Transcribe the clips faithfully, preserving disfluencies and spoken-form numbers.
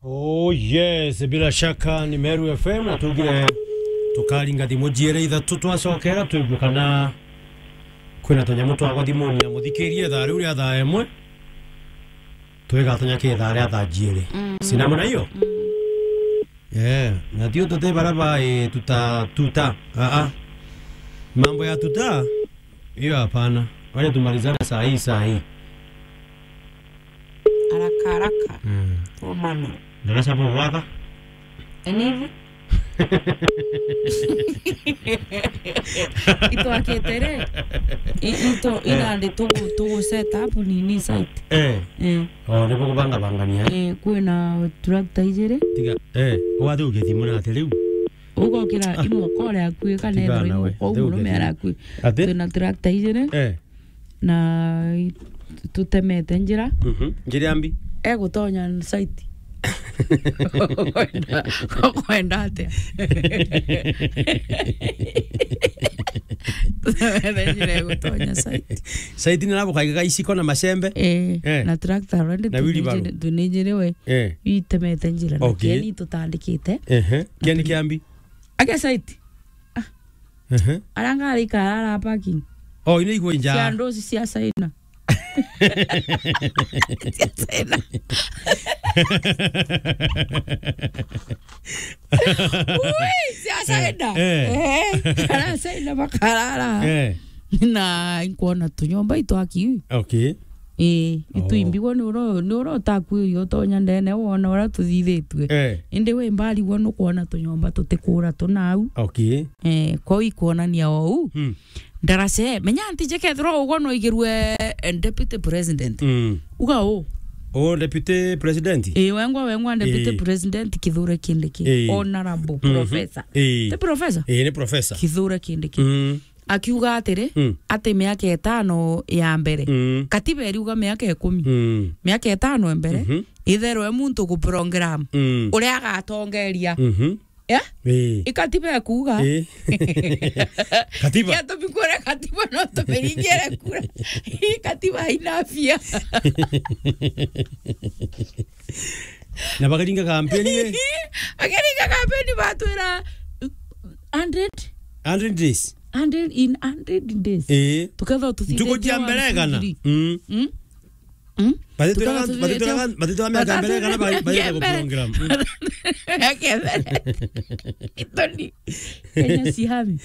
Oh yes, bila shaka ni Meru F M, na tugire tukaringa thimu jiere ithatu twacokera twigue kana kwina tunyamu twagwa thimuni ya muthikirie thaa riu ria thaa imwe. Twigatonya ki thaa ria thaa jiere. Mm. Si namna hiyo? Mm. Eh, na tio tute bara ba, eh, tuta, tuta. Ah, ah. Mambo ya tuta, hiyo hapana. Wacha tumalizane saa hii, saa hii. Haraka, haraka. Mm. Omano. Ndarasa bo gwaka? Enivi? Itwakite ri? I-, ito, eh, inandi tugu-, tugu set up nini site. Eh. Eh. Oh, nibo kubanga bangania, eh? Eh, kwina tractor ijiri. Tiga, eh, wathi ugithimu na ati riu? Ugokira, ah, imwe kore akui, kana tiga ethirwa nawe, imwe kwa uthi murume ugithimu. Arakui. Ati? Twina tractor ijiri. Eh. Na i-, tutemete njira. Mhm. Njira mbi. Egutonya site. Ukwenda, ukwenda atia? Tutemete njira egutonya site. Site ni nabo kaige gaiciko na macembe? Eh, eh, na tractor already na wheelbarrow. Tunijiri-, tunijiriwe. Eh. Itemete njira na, okay, kieni tutandikite. Ehe. Na kieni tuni-, kia mbi. Ake site. Ah. Ehe. Aranga ari karara parking. Oh, ino igwe nja. Cia ndosi cia China. Cia China. Ui, cia China. Eh, eh. Eh, ara China bakarara. Eh. Na nkwona tunyomba itwaki. Okay. Ii, oh, ituimbigwa ni uro, ni uro utakuiria utonya ndene wona uria tuthithitue. Eh. Indi wi mbarigwa nukwona tunyomba tutikura tunau. Okay. Eh, kwou ikwonania ou. Hmm. Ndarace, menya ntije kethirwa ugwa no igirwe, eh, deputy president. Mm. Uga u? O deputy president? Ii, wengwa, wengwa deputy, ii, president Kithure Kindiki. Ii. Honorable, mhm, professor. Ii. Ti professor? Ii, ni professor. Kithure Kindiki. Mm. Akiuga atiri, mm, ati miaka itano ya mbere, mm, katiba iriuga miaka ikumi. Mm. Miaka itano ya mbere, mhm, itherwe muntu ku program, mm, uria agatongeria. Mhm. Yeah? Ii. Ikatiba ikuuga. Ii. Katiba. Kia tumikwire katiba no tumiringire kura. Ii, katiba haina afya. Na bakaringa kampeni, eh? Bakaringa kampeni batwira hundred. Hundred days. Hundred, in hundred days. Ii. Tukethwa tuthithite ntuku cia mbere igana. Mm. Mm? Mm? Batitwira, tukaga tuthithite batitwira, batitwira miaka mbere kana ba-, ba-, ya mbere. Program. Mm. Miaka mbere. Itoni. Kenya si hami.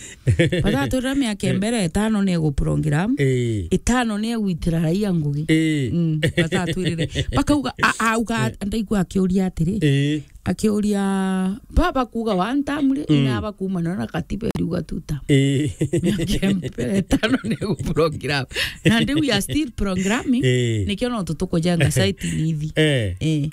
Batatwira miaka mbere itano ni egu program. Ii. Itano ni egwitira raia ngugi. Ii. Mm. Batatwirire. Bakauga, a-, auga, ndaigua akiuria atiri. Ii. Akiuria, baba kuuga one term ri, mm, ina bakuumana na katiba iriuga two term. Ii. Miaka mbere itano ni egu program. Na ndi we are still programming. Ii. Nikio no tutukujenga site nithi. Eh. Eh.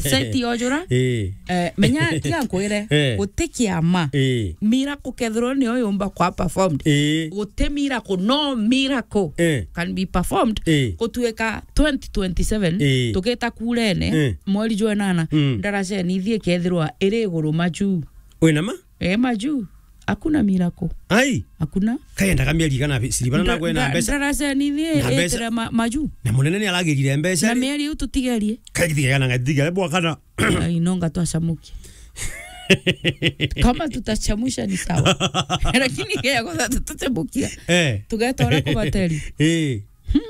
Site yojura. Ii. Eh, menya tiga nkwire, eh, guti kiama. Ii. Miracle kethirwa niyo yumba kwa performed. Ii. Guti miracle, no miracle, eh, can be performed. Ii. Gutuika twenty twenty-seven, ii, tugita kurene, eh, mweri jwa nana, mm, ndaraceni ithie kethirwa iri iguru maju. Wina ma? Eh, maju. Hakuna miracle. Ai. Hakuna. Kayendaga mieri igana bi-, siribana nda-, na kwena nda-, mbeca. Ndaraceni ithie na mbeca itire ma-, maju. Na munene ni aragirire mbeca. Na ri? Mieri iu tutigerie. Kagitigana ngatigeria bwa kana. Ai, no ngatwacamukia. Kama tutachamusha ni sawa. Lakini kea kwanza tutachamukia. Eh. Tugeta uria kubateri. Eh.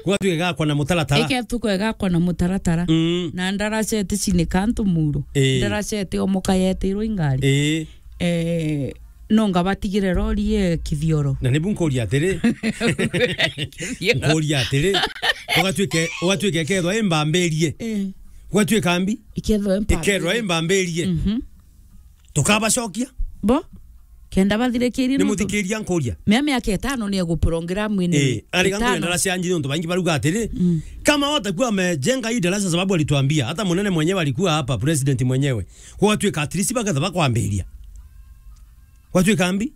Gwatuika gakwa na mutaratara. Ike tuko gakwa na mutaratara. Mm. Na ndaracete cinika antu muro. Eh. Ndaracete omoka yetirwo ingari. Eh. Eh, no ngabatigire rori ye kithioro. Na nibu nkuria atiri. Kithioro. Nkuria atiri. Ugatuike, ugatuike kethwa imbambirie. Eh. Ugatuika mbi. Ikethwa imbambirie. Ikethwa imbambirie. Mhm. Tukabacokia. Bo? Kenda bathirikirie. Ni nontu muthikiria nkuria. Mea miaka itano ni egu program ini. Eh, ari gantu itano. Ndarasa ya njiri nontu baingi baruga atiri. Mm. Kama watakuwa amejenga hii darasa sababu alituambia, hata munene mwenyewe alikuwa hapa, president mwenyewe. Gwatuika at least baketha bakwambiria. Gwatuika mbi?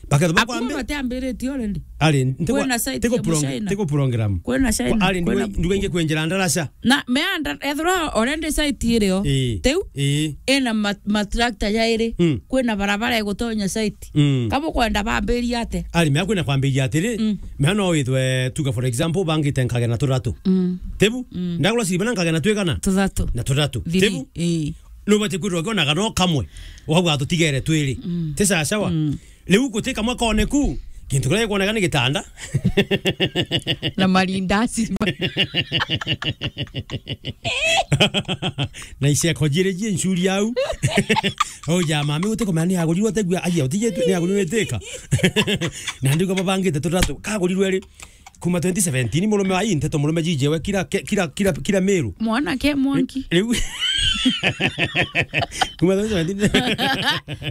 Baketha bakwambi? Akuwa batiambiritie already. Ari, ntigo-, kwina site tigo ya prong-, Muchina. Tigo program. Kwina China, ari, kwina nduga-, nduga ingi kwenjera ndarasa. Na meanda, ethirwa already site irio. Ii. Tiu? Ii. Ina ma-, matractor jairi. Mm. Kwina barabara igutonya site. Mm. Kabo kwenda bambiria ate? Ari, mea kwina kwambiria atiri, mm, mea no withwe tuga for example, bangite nkagena tuthatu. Mm. Tibu? Mm. Ndagura siribana nkagena twigana? Tuthatu. Na tuthatu. Three. Tibu? Ii. Nubati kwithirwa ukiona kana kamwe, ukauga tutigere twiri. Mm. Ti sawa sawa? Mm. Riu guti kamwe koneku, gintu kiria gikwoneka ni gitanda. Na marindasi. Na iceko jiri ji ncuri au. Au ja mami, uti kumenya ni agurirwe, utegua, agia, utije tu, ni agurirwe iteka. Na ndigo babangite tutatu, kagurirwe ri? Kuma twenty seventeen, murume wa ii nteto, murume jijewe kira, ke-, kira, kira, kira Meru. Mwanake mwanki. Riu kuma twenty seventeen.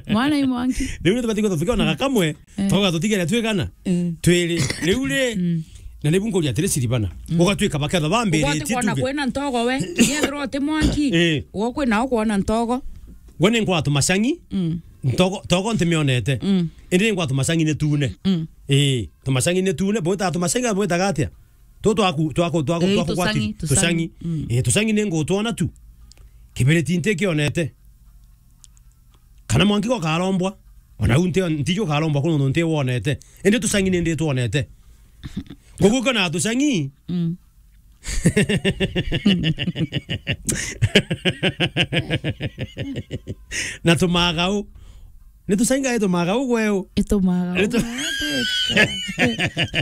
Mwana i mwanki. Riu ni tubati guthukia ona gakamwe, eh, twauga tutigere twigana? Mm. Twiri. Riu ri, mm, na nibu nkuria atiri, Siribana. Mm. Ugatwika baketha bambiriti. Ukwona tuge kwina ntogo we. Niethirwa uti mwanki. Eh. Ugo kwina ukwona ntogo. Gwe ni ngwatu macang'i. Mm. Ntogo, ntogo ntimionete. Mm. Indi ni ngwatu macang'i ni tune. Mm. Ii. Tumacang'i ni tune, bwitaga tumacang'i, bwitaga atia? Tu twaku, twaku, twaku, ii, twaku gwati, tucang'i, tucang'i. Tucang'i. Mm. Ii, tucang'i ni ngutwona tu. Kibiriti ntikionete. Kana mwanki go karombwa. Ona u nti, ntiju karombwa kuno nti wonete. Indi tucang'i ni ndi twonete. Koguo kana tucang'i. Mm. Na tumagau. Ni tucainga i tumagau gweu. I tumagau. Ni tu-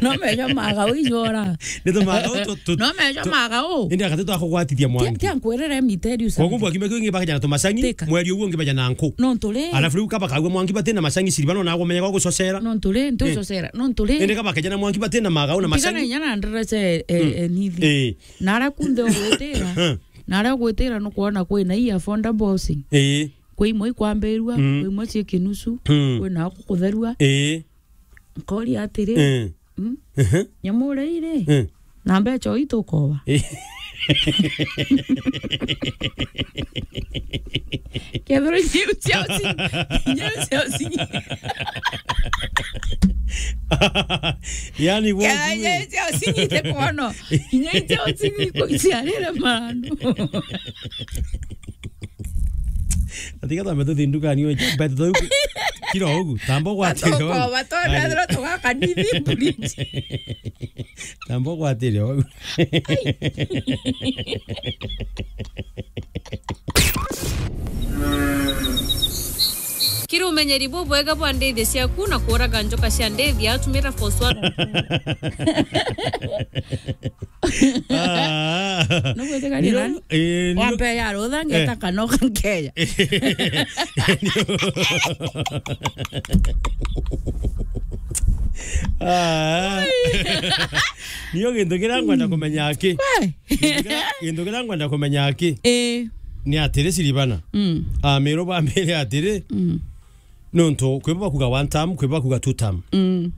No mejo magau ijora. Ni tumagau tu, tu, no mejo tu- magau. Indi akati twakugwatithia mwangi. Tia nkwirire miterius. Koguo mbwa kime kingi bakajana tumacang'i, tika, mweri uguo ngi bajana nku. No nturi. Alafu riu kaba kagwe mwangi bati na macang'i, Siribana na agumenya gwa gucocera. No nturi, ntu, eh, gucocera. No nturi. Indi kaba kajana mwangi bati na magau na macang'i. Tigana inya na nderece, eh, mm, eh, nithi. Eh. Na aria kunthe ugwitira, na aria ugwitira nukwona kwina ii affordable housing. Ii. Kwi imwe ikwambirua, mm, kwi imwe cie kinusu, mm, kwina kutherua. Ii. Nkoria atiri, mm, mm? Ehe. Nyamu uria iri? Mm. Na mbeca uu itukoba? Ii. Kethirwa inya iu cia ucinyi, inya iu cia ucinyi. Yani, kethirwa inya iu cia ucinyi ite kono. Inya iu cia ucinyi iko iciarire manu. Atiga twambe tuthi ndukani uyu, mbete tu kira ugu, tamba ugwatire ugu. Atukoba, tona thira tugaka nithi bridge. Tamba ugwatire ugu. Kiri umenyeri bubwega bwa ndithi ciaku na kuraga njoka cia ndithi, atumira force one. Ah. Nugwitikanira nani? Eh, nio- wampe ya rutha ngeta, eh, kanoka nkeya. Ah. Nio gintu kiria ngwenda kumenya aki. We. Gintu kiria, gintu kiria ngwenda kumenya aki. Eh. Ni atiri, Siribana. Mm. Ah, Meru bambire atiri. Mm. Nontu kwi bo bakuga one term, kwi bo bakuga two term. Mm.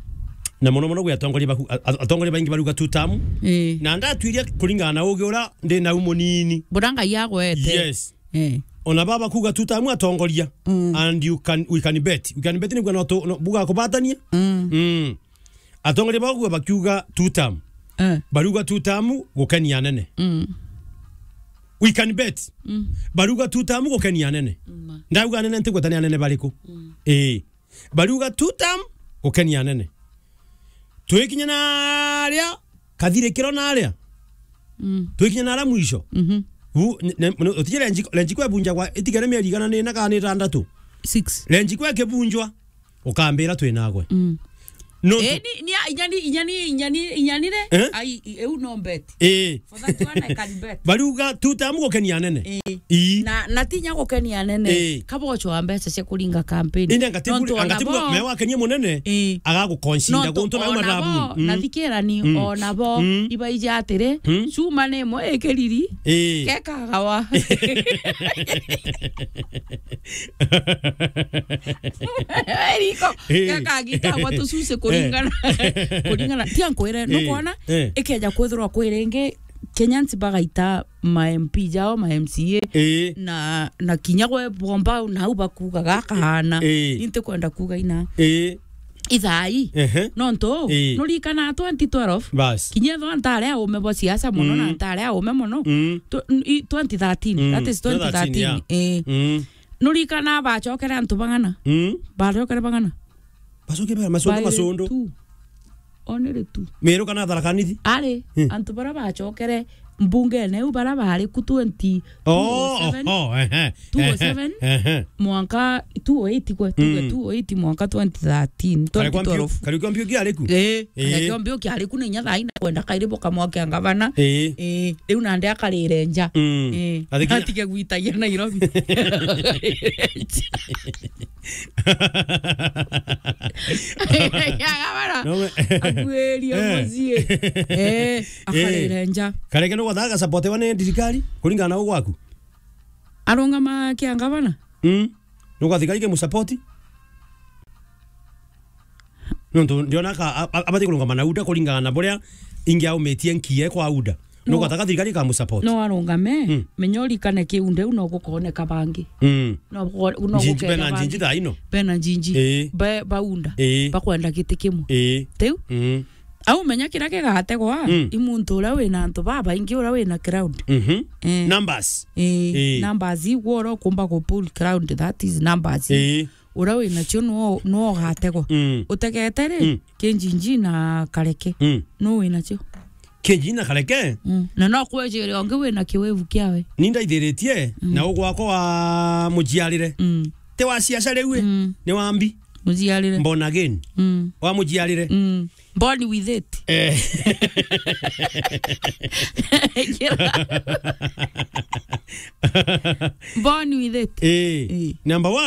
Na mono mono gwi atongoria baku-, a-, a-, atongoria baingi baruga two term. Ii. Na ndatwiria kuringana na ugi uria ndi nau munini. Buria Ngai agwete. Yes. Ii. Ona baba bakuga two term atongoria. Mm. And you can, we can bet. We can bet ni kuga no tu-, no, buga kubatania. Mm. Mm. Atongoria bakuga bakiuga two term. Eh. Baruga two term gukenia anene. Mm. We can bet. Mm. Baruga two term gukenia anene. Mm. Ndauga anene ntigweta ni anene bariku. Mm. Ii. Bariuga two term gukenia anene. Twikinya naria kathirikiro naria. Mm. Twikinya naria mwisho. Mhm. Bu, ne, ne, utije renji, renji kwe bunjagwa itigere mieri igana ni na kana ni itandatu. Six. Renji kwe kibunjwa. Ukambira twi nagwe. Mm. No. Eh, tu- ni, ni, inyani, inyani, inyani, inyani re? Eh? Ai, i-, eu no bet. Eh. For that one I can bet. Bariuga two term gukenia anene. Eh. Ii. Na, na tinya gukenia anene. Eh. Kabocho wa mbeca cia kuringa campaign. Inde angati nontu buri, ona angati bo, me wakenia munene, eh, agagukonsinda nontu guntu na ona marabu. Bo, mm, na thikirani, mm, ona bo, mm, ibaija atiri, mm, cuma ni imwe ikiriri, eh, kekagawa. Eriko, eh, gakagitagwa tucuci kuringana, eh, kuringana. Tia nkwire, eh, nukwona, eh, ikeja kwithirwa kwi ringi, Kenyans bagaita ma M P jao, ma M C A, eh, na, na kinya gwe bomba, nau bakuga gakahana. Eh. Ni ntikwenda kuga ina. Eh. Ithai. Ehe. Nontu, eh, nurikana twenty twelve, bas, kinya ethwa ntari aume bwa siasa mono, mm, na ntari aume mono. Mm. Tw-, i-, twenty thirteen, mm, that is twenty thirteen, twenty thirteen, yeah. Eh. Mm. Nurikana bacokere antu bang'ana? Mm. Bacokere bang'ana? Bacoke ba-, macondo, baire macondo. Tu. Only two. Meru kana Tharaka Nithi? Ari, hmm, antu bara bacokere mbungene u bara bari ku twenty, Oh, two oh seven, oh, ehe, two oh seven, ehe, ehe. Mwanka two oh eight kwe, tuge Mm. two oh eight mwanka twenty thirteen, Kari kwa mpio-, twenty twelve. Kari kwa mpio kiari ku? Eh, Eh. Kari kwa mpio kiari ku ni nya thaa ina kwenda kairi boka mwake a ngavana. Eh. Eh, riu nande akarire nja. Mm. Eh. Athiki- Atige gwitagia Nairobi. Ya gavana. No, we- Akuirie Eh. mucii. Eh, akarire Eh. nja. Kareke no gwathaga support wa ni thirikari, kuringana na ugwaku? Arungama kia ngavana? Mm. Nuga thigari ke musapoti? Nontu ndiona ka, a-, a-, abati kurungama na UDA kuringana na buria ingi aumitie nkie kwa UDA. No. Nuga taka thigari ka musapoti. No arungame, Mm. menya urikane kiunde u no gukoneka bangi. Mm. No guko-, no Njinji, gukenda bena bangi. Njinji thaa ino? Bena Njinji. Ii. Ba-, baunda. Ii. Bakwenda giti kimwe. Ii. Tiu? Mm. Au menya kiria kigategwa, Mm. i muntu uria wina antu babaingi, uria wina crowd. Mhm. Eh. Numbers. Eh, Eh. numbers igwo uria ukumba ku pull crowd, that is numbers. Eh. Uria wina cio nuo, nuo ugategwa. Mm. Utegete ri, Mm. Kinjinji na Kareke. Mm. Nu wina cio? Kinjinji na Kareke? Mm. Na no kwejiria ungi wina kiwevu kiawe. Ni ndaithiritie, Mm. na ugwakwa wa mujiarire. Mm. Ti wa siasa riu i? Mm. Ni wa mbi. Mujiarire. Born again. Mm. Wa mujiarire. Mm. Born with it. Eh. Born with it. Eh. Eh. Number one.